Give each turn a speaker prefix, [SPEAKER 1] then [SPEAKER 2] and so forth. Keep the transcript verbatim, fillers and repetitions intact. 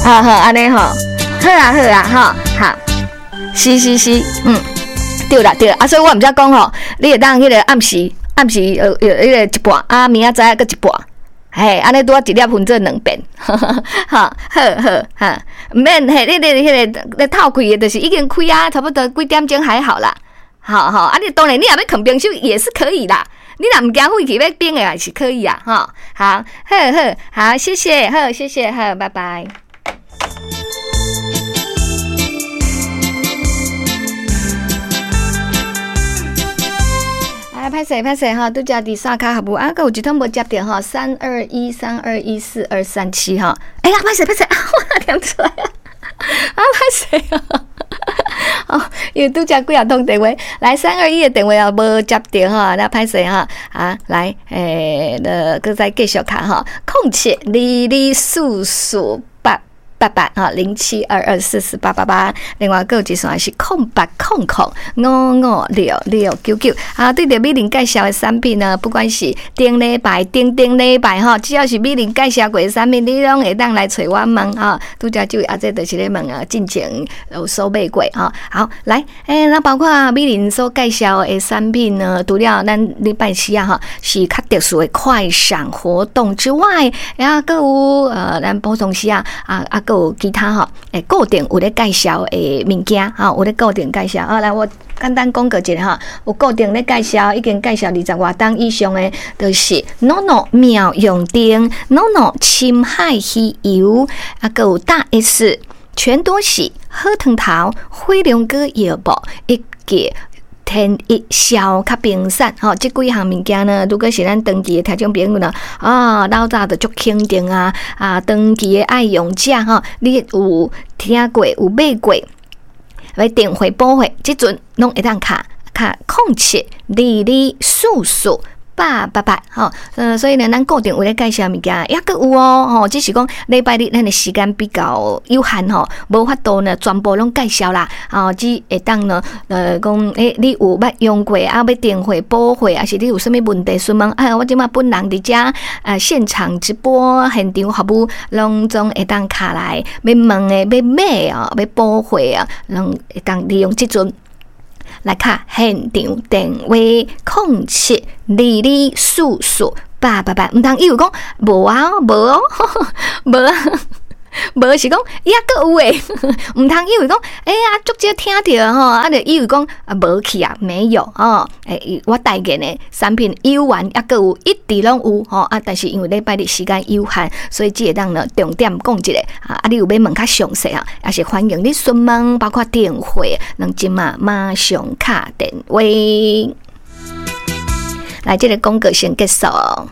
[SPEAKER 1] 好，好，按呢吼，好啊，好啊，吼，好，是是是，嗯，對啦對啦，啊，所以我毋才講吼，你會當彼个暗時暗時呃呃，彼個一半，啊，明仔載閣一半，嘿，按呢拄仔一粒分做兩遍，哈，好好哈，毋免嘿，你你彼个咧透氣的，就是已經開啊，差不多幾點鐘還好啦，好好，啊，你當然你若欲囥冰箱也是可以啦，你若毋驚廢去欲冰的也是可以啊，吼，好，好好好，謝謝，好，謝謝，好，拜拜。啊，歹勢歹勢吼，拄才佇刷卡服務啊，閣有一通無接著吼，三二一三二一四二三七吼，哎呀，歹勢歹勢，我念出來啊，啊，歹勢啊，哦，因為拄才幾仔通電話，來三二一的電話也無接著吼，那歹勢吼，啊，來，欸，閣閣再繼續敲吼，空七二二四四八八八哈，零七二二四四八八八，另外閣有一線是空八空空五五六六九九啊。對著美玲介紹的產品呢，不管是頂禮拜、頂頂禮拜吼，只要是美玲介紹過的產品，你攏會當來揣我問哈。拄才這位阿姐就是咧問啊，進前有所買過吼。好，來，欸，那包括美玲所介紹的產品呢，除了咱禮拜四啊吼，是較特殊的快閃活動之外，啊，閣有呃，咱普通時啊啊啊。閣有其他吼，欸，固定有咧介紹的物件，吼，有咧固定介紹。啊，來我簡單講過一下吼，有固定咧介紹，已經介紹二十外檔以上的，就是 NONO 妙用燈，NONO 深海魚油，啊，閣有大 S 全多喜好湯頭、火龍果藥物，以及天一消較冰散，吼，這幾項物件呢，如果是咱長期的聽眾朋友呢，啊，老早就足肯定啊，啊，長期的愛用者吼，你有聽過有買過，欲訂貨補貨，這陣攏會當敲敲空七二二四四八八八，吼，呃，所以呢，咱固定有咧介紹物件，抑閣有哦，吼，只是講禮拜日咱的時間比較有限吼，無法度呢全部攏介紹啦，哦，只會當呢，呃，講，欸，你有捌用過啊，欲訂貨補貨，抑是你有啥物問題詢問，啊，我這馬本人佇遮，呃，現場直播現場服務，攏總會當敲來，欲問的、欲買哦、欲補貨啊，攏會當利用這陣。來敲現場電話空七二二四四八八八，毋通以為講無啊，無哦，無啊，無是講抑閣有的，毋通以為講，欸呀，足少聽著吼，啊，就以為講啊無去啊，沒有哦，欸，我代言的產品有緣抑閣有，一直攏有吼啊，但是因為禮拜日時間有限，所以只會當呢重點講一下啊，啊，你有欲問較詳細啊，也是歡迎你詢問，包括電話，攏這馬馬上敲電話。來，這個廣告先結束。